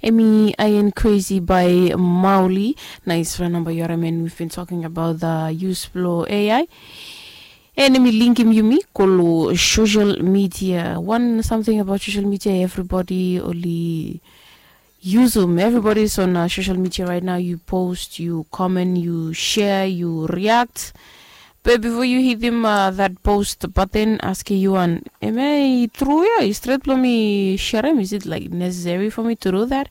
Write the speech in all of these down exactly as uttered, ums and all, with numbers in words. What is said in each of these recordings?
Emi aen crazy by Mauli. Nice phone number, you are a man. We've been talking about the use blo A I. And emi linkim yumi kolo social media. One something about social media, everybody oli usum. Everybody is on uh, social media right now. You post, you comment, you share, you react. But before you hit him uh, that post button, ask you one. Am I true? Yeah, is straight blo mi share him? Is it like necessary for me to do that?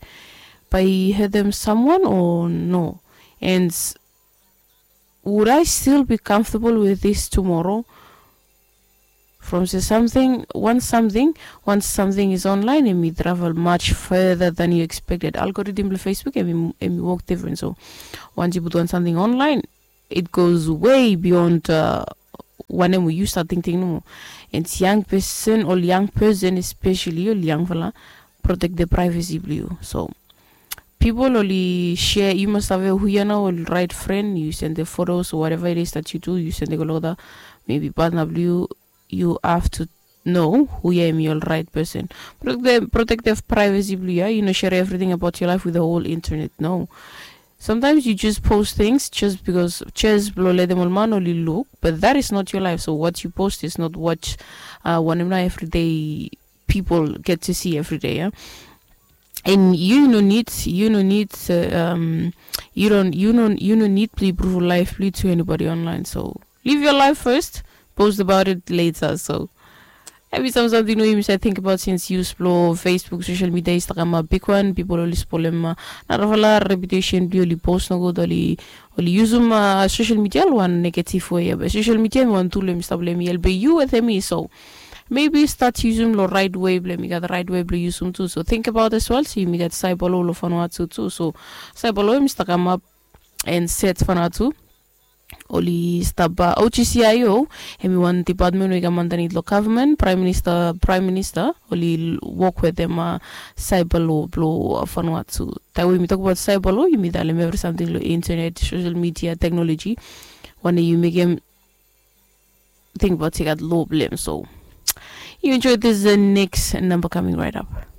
By hurt them someone or no? And would I still be comfortable with this tomorrow? From say something, once something, once something is online, emi travel much further than you expected. Algorithm of Facebook, emi, emi work different. So once you put one something online, it goes way beyond uh, wanem we you start thinking no more. And young person or young person especially, or young fella, protect the privacy of you. So people only share, you must have a who you know, only right friend, you send the photos or whatever it is that you do, you send the go look at maybe partner blue, you have to know who you am your right person. Protect the, protect the privacy blue, yeah? You know, share everything about your life with the whole internet. No. Sometimes you just post things just because just blo let them all man only look, but that is not your life. So what you post is not what uh, one of my everyday people get to see every day, yeah? And you no need, you no need uh, um you don't you no you no need to prove life to anybody online. So live your life first, post about it later. So emi sam samting we yumi save think about since use blo Facebook, social media i stap kamap bigwan. People oli spolem narafala reputation blong oli post nogut, oli oli usum social media long wan negative way. Be social media em wan tool em i stap long em i helpem yu wetem mi. So maybe start usum long right way blong em i gat right way blong usum tu. So think about as well, so yumi gat cyber law long Vanuatu tu. So cyber law em i stap kamap and set Vanuatu. Oli stap uh, O G C I O, em i wan department we i kam underneath lo government, prime minister, prime minister, oli work with them uh, cyber law blo uh, Vanuatu. Taem we yumi talk about cyber law, yumi talem every something lo internet, social media, technology. Wan day yu mekem think about take out law blame. So you enjoy this uh, next number coming right up.